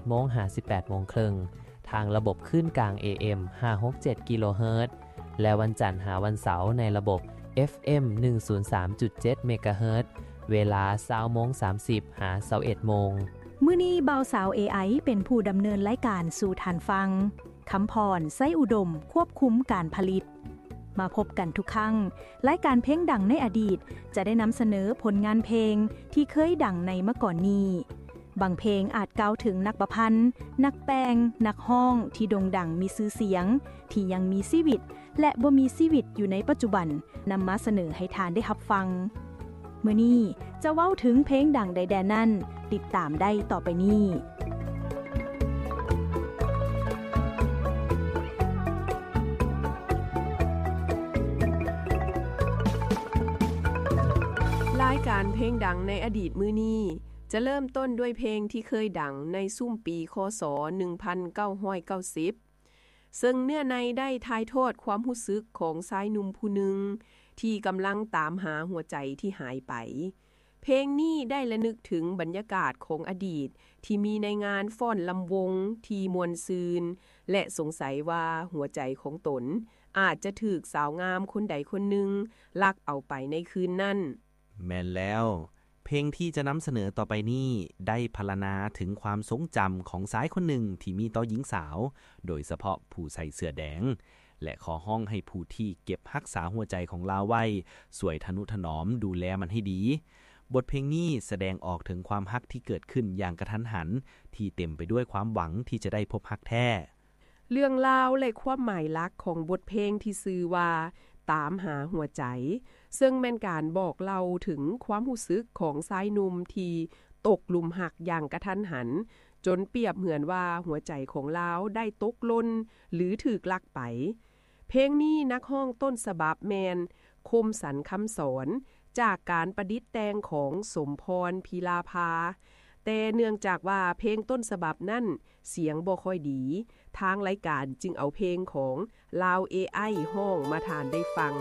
ໂມງຫາສິບແປດໂມງເຄິ່ງ ທາງລະບົບຄື້ນກາງ ເອເອັມ ຫ້າຫົກເຈັດ ກິໂລເຮີດ ແລະ ວັນຈັນຫາວັນເສົາໃນລະບົບ ເອັຟເອັມ ໜຶ່ງສູນສາມຈຸດເຈັດ ເມກາເຮີດ ເວລາ ຊາວໂມງສາມສິບ ຫາ ຊາວເອັດໂມງ. ມື້ນີ້ບ່າວສາວ ເອໄອ ເປັນຜູ້ດຳເນີນລາຍການສູ່ທ່ານຟັງ. ຄຳພອນ ໄຊອຸດົມ ຄວບຄຸມການຜະລິດ. ມາພົບກັນທຸກຄັ້ງ, ລາຍການເພງດັງໃນອະດີດຈະໄດ້ນຳສະເໜີຜົນງານເພງທີ່ເຄີຍດັງໃນມາກ່ອນນີ້. ບາງເພງອາດກ່າວເຖິງນັກປະພັນ, ນັກແຕ່ງ, ນັກຮ້ອງທີ່ໂດ່ງດັງມີຊື່ສຽງ, ທີ່ຍັງມີຊີວິດ ແລະ ບໍ່ມີຊີວິດຢູ່ໃນປັດຈຸບັນ, ນຳມາສະເໜີໃຫ້ທ່ານໄດ້ຮັບຟັງ. ມື້ນີ້ຈະເວົ້າເຖິງເພງດັງໃດແດ່ນັ້ນ, ຕິດຕາມໄດ້ຕໍ່ໄປນີ້. ລາຍການເພງດັງໃນອະດີດມື້ນີ້ ຈະເລີ່ມຕົ້ນດ້ວຍເພງທີ່ເຄີຍດັງໃນຊຸມປີ ຄ.ສ. ໜຶ່ງພັນເກົ້າຮ້ອຍເກົ້າສິບ ເຊິ່ງເນື້ອໃນໄດ້ຖ່າຍທອດຄວາມຮູ້ສຶກຂອງຊາຍໜຸ່ມຜູ້ໜຶ່ງທີ່ກຳລັງຕາມຫາຫົວໃຈທີ່ຫາຍໄປ. ເພງນີ້ໄດ້ລະນຶກເຖິງບັນຍາກາດຂອງອະດີດທີ່ມີໃນງານຟ້ອນລຳວົງທີ່ມ່ວນຊື່ນ ແລະ ສົງໄສວ່າຫົວໃຈຂອງຕົນອາດຈະຖືກສາວງາມຄົນໃດຄົນໜຶ່ງລັກເອົາໄປໃນຄືນນັ້ນ. ແມ່ນແລ້ວ, ເພງທີ່ຈະນຳສະເໜີຕໍ່ໄປນີ້ໄດ້ພັນລະນາເຖິງຄວາມຊົງຈຳຂອງຊາຍຄົນໜຶ່ງທີ່ມີຕໍ່ຍິງສາວ, ໂດຍສະເພາະຜູ້ໃສ່ເສື້ອແດງ, ແລະ ຂໍຮ້ອງໃຫ້ຜູ້ທີ່ເກັບຮັກສາຫົວໃຈຂອງລາວໄວ້ ຊ່ວຍທະນຸຖະໜອມດູແລມັນໃຫ້ດີ. ບົດເພງນີ້ສະແດງອອກເຖິງຄວາມຮັກທີ່ເກີດຂຶ້ນຢ່າງກະທັນຫັນ, ທີ່ເຕັມໄປດ້ວຍຄວາມຫວັງທີ່ຈະໄດ້ພົບຮັກແທ້. ເລື່ອງລາວ ແລະ ຄວາມໝາຍຫຼັກຂອງບົດເພງທີ່ຊື່ວ່າ ຕາມຫາຫົວໃຈ, ເຊິ່ງແມ່ນການບອກເລົ່າເຖິງຄວາມຮູ້ສຶກຂອງຊາຍໜຸ່ມທີ່ຕົກຫຼຸມຮັກຢ່າງກະທັນຫັນ, ຈົນປຽບເໝືອນວ່າຫົວໃຈຂອງລາວໄດ້ຕົກຫຼົ່ນ ຫຼື ຖືກລັກໄປ. ເພງນີ້ນັກຮ້ອງຕົ້ນສະບັບແມ່ນ ຄົມສັນ ຄຳສອນ ຈາກການປະດິດແຕ່ງຂອງ ສົມພອນ ພິລາພາ, ແຕ່ເນື່ອງຈາກວ່າເພງຕົ້ນສະບັບນັ້ນສຽງບໍ່ຄ່ອຍດີ, ທາງລາຍການຈຶ່ງເອົາເພງຂອງລາວ ເອໄອ ຮ້ອງມາທ່ານໄດ້ຟັງ.